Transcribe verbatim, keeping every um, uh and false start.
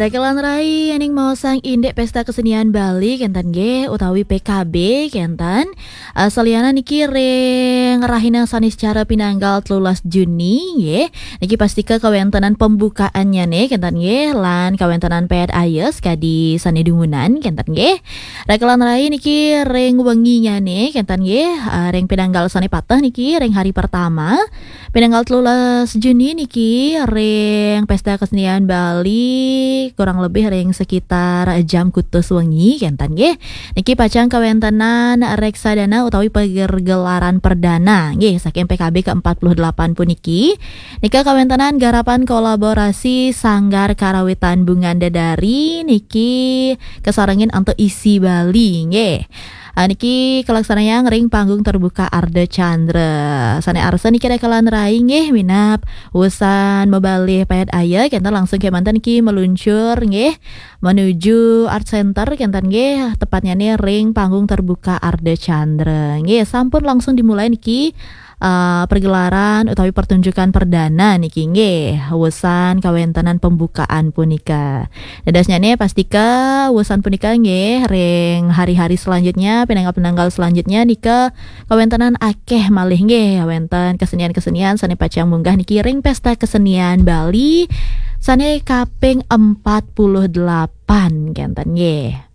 Dagelan rai aning maosang indik Pesta Kesenian Bali kenten nggih utawi P K B kenten. Eh, saliyanan niki ring rahina sanis cara pinanggal telulas Juni nggih. Niki pastika kawentenan pembukaannyane kenten nggih lan kawentenan pet ayes kadi sane dumunan kenten nggih. Dagelan rai niki ring wenginyane kenten nggih, eh, ring pinanggal sane pateh niki ring hari pertama. Pinanggal telulas Juni niki ring Pesta Kesenian Bali kurang lebih ring sekitar jam kutus wengi kenten nggih. Niki pacang kawentenan reksadana utawi pergelaran perdana nggih saking P K B ke empat puluh delapan puniki. Nika kawentenan garapan kolaborasi Sanggar Karawitan Bungan Dedari niki kasarengin antuk isi Bali nggih. Ah, niki kalaksanayang ring panggung terbuka Ardha Candra. Sane arsa niki dagelan rai nggih minab wusan mabalih payat aya kenten langsung kemanten niki meluncur nggih menuju Art Center kenten nggih tepatnyane ring panggung terbuka Ardha Candra. Nggih sampun langsung dimulai niki eh, pergelaran utawi pertunjukan perdana niki nggih wusan kawentenan pembukaan punika. Dadosnyane pastika wusan punika nggih ring hari-hari selanjutnya, pinanggal-pinanggal selanjutnya nika kawentenan akeh malih nggih wenten kesenian-kesenian sane pacang munggah niki ring Pesta Kesenian Bali sane kaping empat puluh delapan kenten nggih.